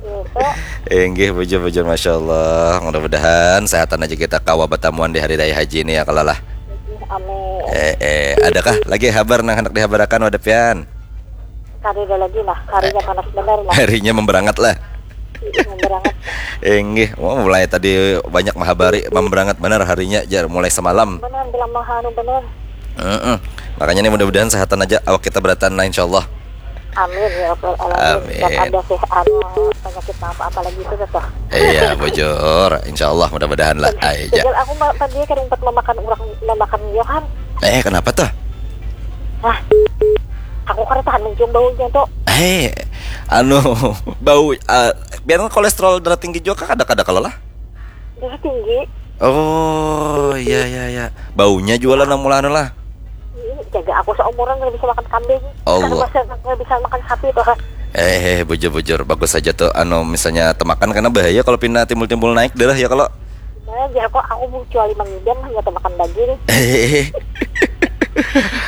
Iya, Kak. Inggih, bujur, bujur, masya Allah. Mudah-mudahan sehatan aja kita kawa batamuan di hari raya haji ini ya, kalau lah. Amin. Eh, eh, adakah lagi habar nang hendak dihabarakan wadah pian? Kada ada lagi lah, harinya panas benar lah. Harinya memberangat lah. Iya, memberangat. Inggih, oh, mulai tadi banyak mahabari, memberangat benar harinya, jar, mulai semalam. Benar, bilang mahanu benar. Heeh. Makanya nih, mudah-mudahan sehatan aja awak kita berataan lah, insyaallah. Amin ya rabbal alamin. Amin. Dan ada sih anu penyakit apa-apa lagi itu tuh. Iya, bujur. Insyaallah, mudah-mudahan lah. Ai, ja. Tinggal aku ma- tadi kada umpat memakan orang, memakan Yohan. Eh, kenapa tuh? Nah, aku kada tahan mencium baunya tuh. Eh, anu, bau, eh, biar kolesterol darah tinggi juga, kada, kada kalau lah. Darah tinggi. Oh, iya, iya, iya. Baunya juga lah nang mula anu lah. Ih, jaga aku seumuran nggak bisa makan kambing. Allah. Karena masa nggak bisa makan sapi tuh. Eh, eh, bujur-bujur, bagus aja tuh, anu, misalnya temakan, karena bahaya kalau pina timbul-timbul naik darah ya kalau. Nah, jar kok aku mau kecuali mangidam hanya temakan daging.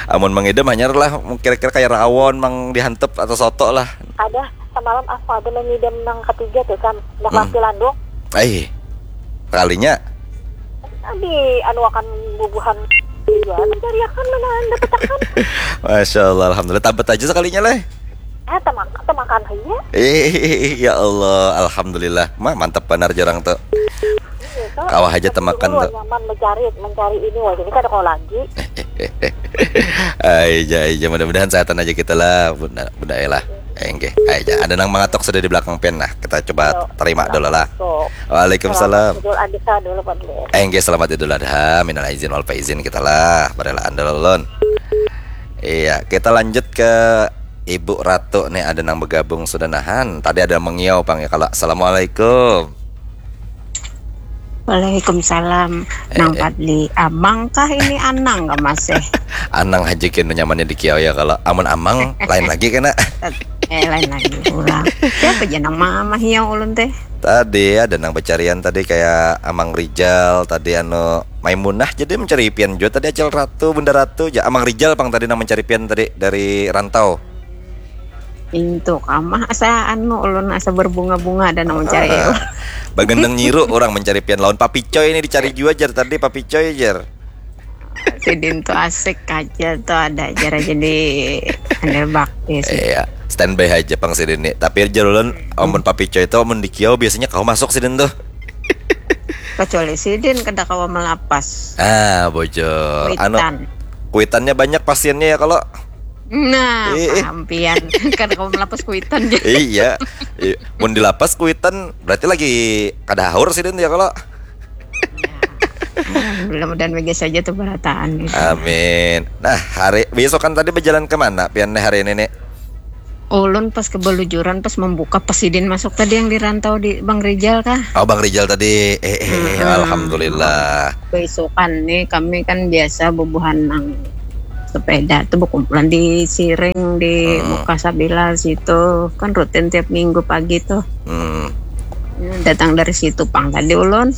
Amun mangidam hanya lah kira-kira kayak rawon, mang dihantup atau soto lah. Ada, semalam aku ada mangidam nang ketiga tuh, Sam. Dah Hmm. pasti landung. Ai, kalinya. Di anu akan bubuhan juga mencariakan mana anda petakan. Masya Allah, alhamdulillah. Tabat aja sekalinya, leh. Eh, temak, temakan aja. Eh, ya Allah, alhamdulillah. Mah, mantap banar jarang tuh. Iya, tuh. Kawah aja temakan tuh. Nyaman mencari, mencari ini, wah, ini kada kau lagi. Ai, ja, ai, ja. Mudah-mudahan sehatan aja kita lah, bunda, bunda ya lah. Enggih, ai, ja. Ada nang mangatok sudah di belakang pian, nah. Kita coba terima dulu lah. Waalaikumsalam. Selamat Idul Adha dulu, Pak Dulur. Enggih, selamat Idul Adha. Minal aizin wal faizin kita lah. Barelaan dulu, Lun. Iya, kita lanjut ke Ibu Ratu nih, ada nang bergabung sudah nahan. Tadi ada mengiau pang ya kalau. Assalamualaikum. Waalaikumsalam. Eh, Nang eh. Padli, amang kah ini anang kah masih? Anang haja kena nyamannya di kiau ya kalau. Amun amang lain lagi kena. Eh, lain lagi pula. Siapa aja nang mama hiau ulun teh? Tadi ada nang pencarian tadi kayak Amang Rijal tadi, anu, Maimunah jadi mencari pian juga tadi, Acil Ratu, Bunda Ratu, ja Amang Rijal pang tadi nang mencari pian tadi dari rantau. Intu kamah asa anu ulun asa berbunga-bunga dan nang mencari. Ah, bagendang nyiru orang mencari pian lawan Papi Coy ini dicari jua jar tadi Papi Coy jar. Sidin tuh asik aja tuh ada ajar aja di handal bakti sih. Iya, standby aja pang sidin nih. Tapi jar ulun amun Papi Coy itu amun di kiau biasanya kau masuk sidin tuh. Kecuali sidin kada kawa melapas. Ah, bujur. Anu, kuitannya banyak pasiennya ya kalau. Nah, paham pian. Kada kawa melapas kuitan. Iya. Mun dilapas kuitan berarti lagi kada haur sidin ya kalau. Alhamdulillah, mudahan bagus saja tuh berataan gitu. Amin. Nah, hari besokan tadi berjalan ke mana pian nih hari ini nih? Ulun pas kebelujuran pas membuka pas sidin masuk tadi yang di rantau di Bang Rijal kah? Oh, Bang Rijal tadi. Eh, eh, eh, alhamdulillah. Besokan nih kami kan biasa bubuhan nang sepeda tuh berkumpulan di Siring di muka Sabila situ kan rutin tiap minggu pagi tuh. Hmm. Datang dari situ pang tadi ulun.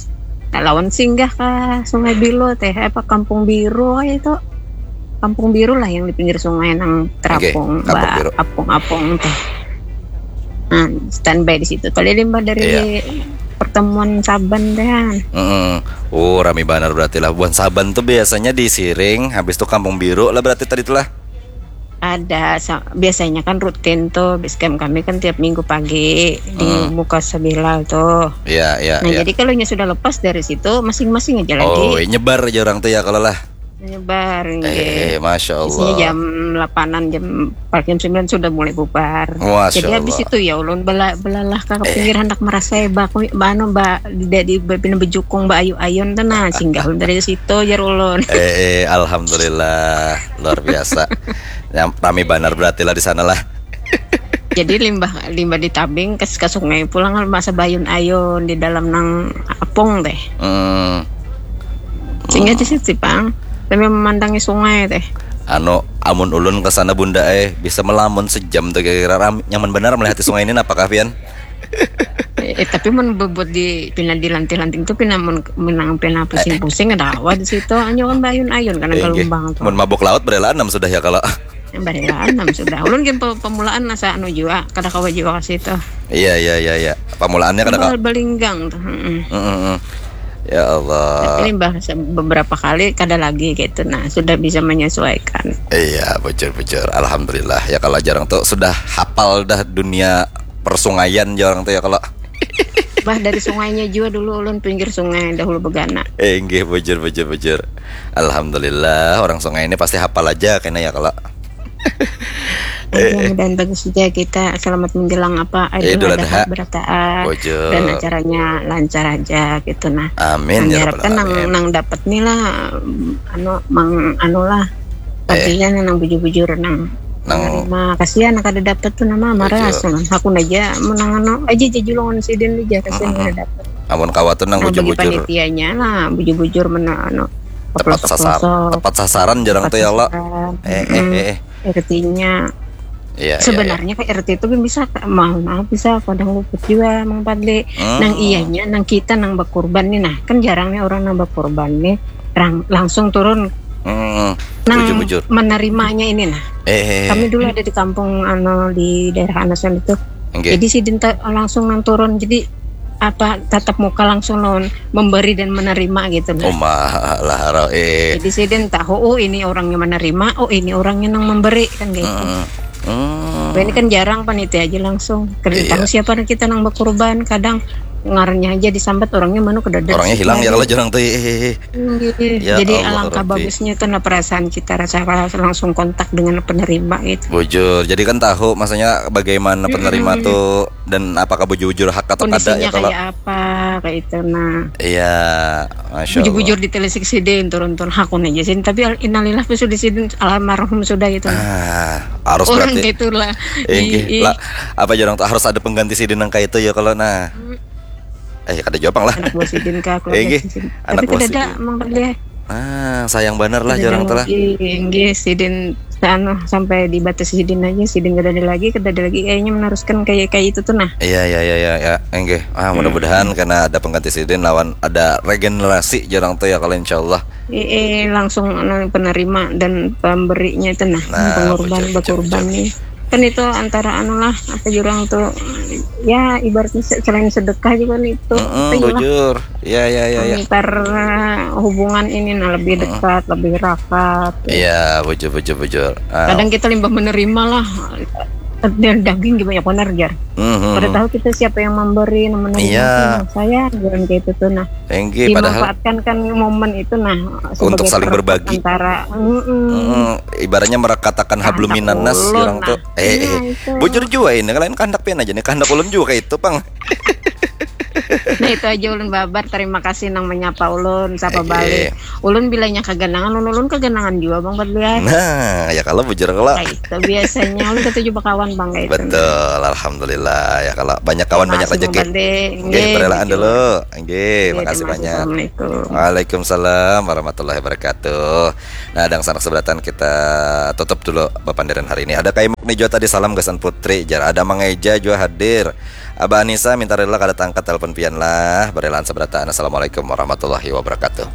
Nah, lawan singgah ke Sungai Biru teh apa Kampung Biru itu. Kampung Biru lah yang di pinggir sungai nang terapung ba apung-apung teh. Nah, standby di situ. Tadi limbah dari pertemuan Saban teh. Mm-mm. Oh, rami banar berarti lah. Buhan Saban tuh biasanya di Siring, habis itu Kampung Biru lah berarti tadi tuh lah. Ada, biasanya kan rutin tuh base camp kami kan tiap minggu pagi di muka Sabila tuh. Iya, iya. Nah, jadi kalau nya sudah lepas dari situ masing-masing aja lagi. Oh, nyebar aja orang tuh ya kalau lah. Nyebar. Eh, masya Allah. Biasanya jam delapan-an, jam jam sembilan sudah mulai bubar. Masya Allah. Jadi habis itu ya ulun bela belalah ke pinggir hendak merasa ya bak anu ba di di bepina bejukung ba ayu-ayun tuh nah singgah ulun dari situ jar ulun. Eh, eh, alhamdulillah. Luar biasa. Yang rami banar berarti lah di sana lah. Jadi limbah limbah ditabing ke, ke sungai pulang masa bayun-ayun di dalam nang apung teh. Hmm. Sehingga di situ pang sambil memandangi sungai teh. Anu, amun ulun ke sana bunda eh, bisa melamun sejam tuh kira-kira. Ram, nyaman benar melihati sungai ini, apakah pian? Eh, tapi mun bubuat di pina di lanting-lanting tuh pina mun menang pina pusing-pusing ada awal di situ, hanya kan bayun-ayun karena eh, gelombang tuh. Mun mabuk laut berelaan nam sudah ya kalau. Barilaan nam sudah. Ulun gin pe- pemulaan asa anu jua, kada kawa jua ka situ. Iya iya iya iya. Pemulaannya kada kawa. Bal- balinggang tuh. Mm-mm. Mm-mm. Ya Allah. Tapi limbah se- beberapa kali kada lagi gitu. Nah, sudah bisa menyesuaikan. Iya, bujur-bujur. Alhamdulillah. Ya kalau jarang tuh sudah hafal dah dunia persungaian jarang tuh ya kalau. Bah, dari sungainya jua dulu ulun pinggir sungai dahulu begana. Eh, inggih, bujur, bujur, bujur. Alhamdulillah, orang sungai ini pasti hafal aja kena ya kalau. Mudah-mudahan bagus saja kita selamat menjelang apa Idul Idul Adha Adha. Berataan Bujur. Dan acaranya lancar aja gitu nah. Amin, ya Rabbal Diharapkan nang Alamin. Nang dapat nih lah, anu mang anu lah. Eh. Artinya nang bujur-bujur nang Nang menerima. Kasihan kada dapat tuh nama marah Bujur. Asal hakun aja menang anu aja jajulungan sidin aja kasihan Mm-mm. Kada dapat. Amun kawa tuh nang Nah, bagi bujur-bujur. Panitianya lah bujur-bujur menang anu. Tepat sasar, tepat sasaran jarang tuh ya Allah. Eh eh eh. Artinya Iya, iya, iya. Sebenarnya kayak R T itu kan bisa mohon maaf bisa kadang luput juga Mang Padli. Hmm. Nang iyanya nang kita nang bakurban nih nah kan jarang nih orang nang bakurban nih rang, langsung turun hmm. Nang bujur, bujur. Menerimanya ini nah. Eh, eh, eh. Kami dulu ada di kampung ano di daerah Anasan itu. Okay. Jadi sidin langsung nang turun jadi apa tatap muka langsung lawan memberi dan menerima gitu nah. Umah lah haro eh. Jadi sidin tahu oh ini orangnya menerima, oh ini orangnya nang memberi kan gitu. Hmm. Hmm. Ini kan jarang panitia aja langsung. Kada iya. Tahu siapa kita nang berkorban, kadang ngarnya aja disambat orangnya mana kada ada. Orangnya hilang ya kalau jarang tuh. Eh, eh, eh. Ya, jadi Allah, alangkah Rabbi. Bagusnya tuh nah perasaan kita rasa langsung kontak dengan penerima gitu. Bujur. Jadi kan tahu maksudnya bagaimana penerima mm-hmm. Tuh dan apakah bujur-bujur hak atau kada ya kalau kayak apa kayak itu nah iya masya bujur-bujur di telisik sidin turun-turun hakun aja sih tapi innalillah pun sudah sidin almarhum sudah gitu nah, harus orang berarti itulah eh, apa jarang tuh harus ada pengganti sidin yang kayak itu ya kalau nah hmm. Eh kada jawab lah anak buah sidin kah keluarga eh, sidin anak tapi buah tidak sidin. Ada emang tadi ya Ah, sayang bener lah jarang tuh lah. Inggih, sidin anu sampai di batas sidin aja, sidin kada ada lagi, kada ada lagi kayaknya meneruskan kayak kayak itu tuh nah. Iya iya iya iya ya. Enggih. Ah, mudah-mudahan hmm. Karena ada pengganti sidin lawan ada regenerasi jarang tuh ya kalau insyaallah. Iya, langsung anu, penerima dan pemberinya itu nah, nah pengorban berkorban nih. Kan itu antara anu lah apa jurang tuh ya ibaratnya selain sedekah juga nih itu mm -mm, bujur ya ya ya ya antar hubungan ini nah lebih dekat mm -mm. Lebih rapat ya bujur bujur bujur ah. Kadang kita limbah menerima lah dan daging juga banyak benar jar mm -hmm. Pada tahu kita siapa yang memberi menerima iya. Saya bilang kayak itu tuh nah Enggi, dimanfaatkan padahal... Kan momen itu nah untuk saling berbagi antara mm -mm. Mm -mm. Ibaratnya merekatakan hablum minannas orang tuh Eh, eh. Nah, bujur jua ini lain kehendak pian aja nih kehendak ulun juga kayak itu pang. Nah itu aja ulun babar terima kasih nang menyapa ulun sapa eh, balik eh. Ulun bilanya kegenangan ulun ulun kegenangan juga bang Badlian nah ya kalau bujur kalau nah, itu biasanya ulun ketujuh bakawan bang kayak betul itu. Alhamdulillah ya kalau banyak kawan banyak rezeki nggih berelaan dulu nggih makasih banyak Assalamualaikum warahmatullahi wabarakatuh. Nah, dang sanak seberatan kita tutup dulu papandiran hari ini. Ada Kaimuk nih juga tadi salam gasan Putri. Jar ada Mang Eja juga hadir. Abah Anissa minta rela kada tangkat telepon pian lah. Berelaan seberatan. Assalamualaikum warahmatullahi wabarakatuh.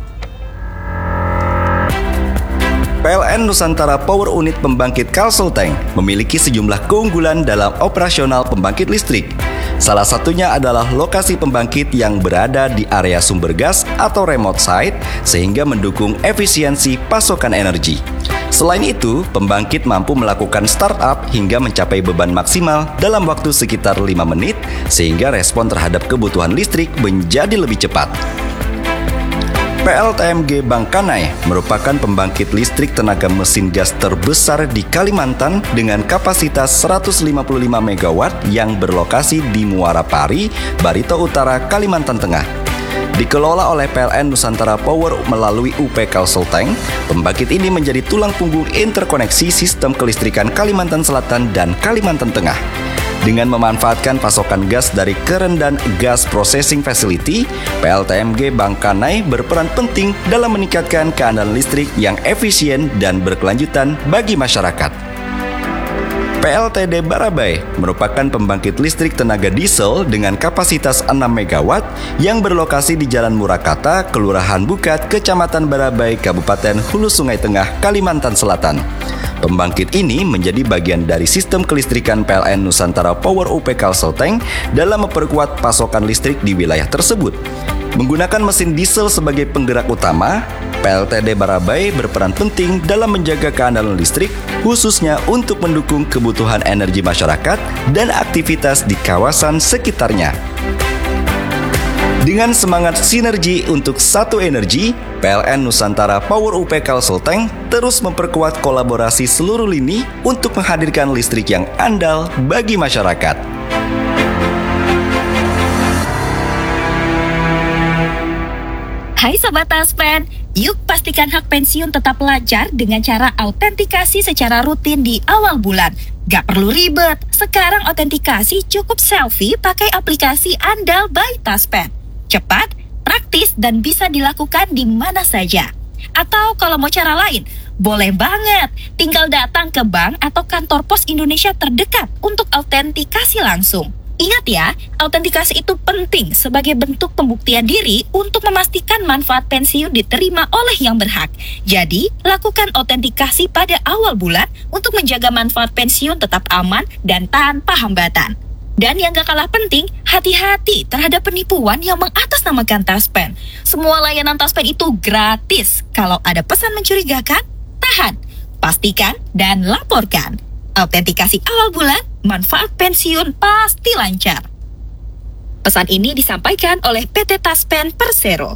P L N Nusantara Power Unit Pembangkit Kalsel Tank memiliki sejumlah keunggulan dalam operasional pembangkit listrik. Salah satunya adalah lokasi pembangkit yang berada di area sumber gas atau remote site sehingga mendukung efisiensi pasokan energi. Selain itu, pembangkit mampu melakukan startup hingga mencapai beban maksimal dalam waktu sekitar lima menit sehingga respon terhadap kebutuhan listrik menjadi lebih cepat. P L T M G Bangkanai merupakan pembangkit listrik tenaga mesin gas terbesar di Kalimantan dengan kapasitas seratus lima puluh lima megawatt yang berlokasi di Muara Pari, Barito Utara, Kalimantan Tengah. Dikelola oleh P L N Nusantara Power melalui U P Kalsel Tank, pembangkit ini menjadi tulang punggung interkoneksi sistem kelistrikan Kalimantan Selatan dan Kalimantan Tengah. Dengan memanfaatkan pasokan gas dari Kerendan Gas Processing Facility, P L T M G Bangkanai berperan penting dalam meningkatkan keandalan listrik yang efisien dan berkelanjutan bagi masyarakat. P L T D Barabai merupakan pembangkit listrik tenaga diesel dengan kapasitas enam megawatt yang berlokasi di Jalan Murakata, Kelurahan Bukat, Kecamatan Barabai, Kabupaten Hulu Sungai Tengah, Kalimantan Selatan. Pembangkit ini menjadi bagian dari sistem kelistrikan P L N Nusantara Power U P Kalsel Tank dalam memperkuat pasokan listrik di wilayah tersebut. Menggunakan mesin diesel sebagai penggerak utama, P L T D Barabai berperan penting dalam menjaga keandalan listrik, khususnya untuk mendukung kebutuhan energi masyarakat dan aktivitas di kawasan sekitarnya. Dengan semangat sinergi untuk satu energi, P L N Nusantara Power U P Kalsel Tank terus memperkuat kolaborasi seluruh lini untuk menghadirkan listrik yang andal bagi masyarakat. Hai Sobat Taspen, yuk pastikan hak pensiun tetap lancar dengan cara autentikasi secara rutin di awal bulan. Gak perlu ribet, sekarang autentikasi cukup selfie pakai aplikasi andal by Taspen. Cepat, praktis, dan bisa dilakukan di mana saja. Atau kalau mau cara lain, boleh banget. Tinggal datang ke bank atau kantor pos Indonesia terdekat untuk autentikasi langsung. Ingat ya, autentikasi itu penting sebagai bentuk pembuktian diri untuk memastikan manfaat pensiun diterima oleh yang berhak. Jadi, lakukan autentikasi pada awal bulan untuk menjaga manfaat pensiun tetap aman dan tanpa hambatan. Dan yang gak kalah penting, hati-hati terhadap penipuan yang mengatasnamakan Taspen. Semua layanan Taspen itu gratis. Kalau ada pesan mencurigakan, tahan, pastikan, dan laporkan. Autentikasi awal bulan, manfaat pensiun pasti lancar. Pesan ini disampaikan oleh P T Taspen Persero.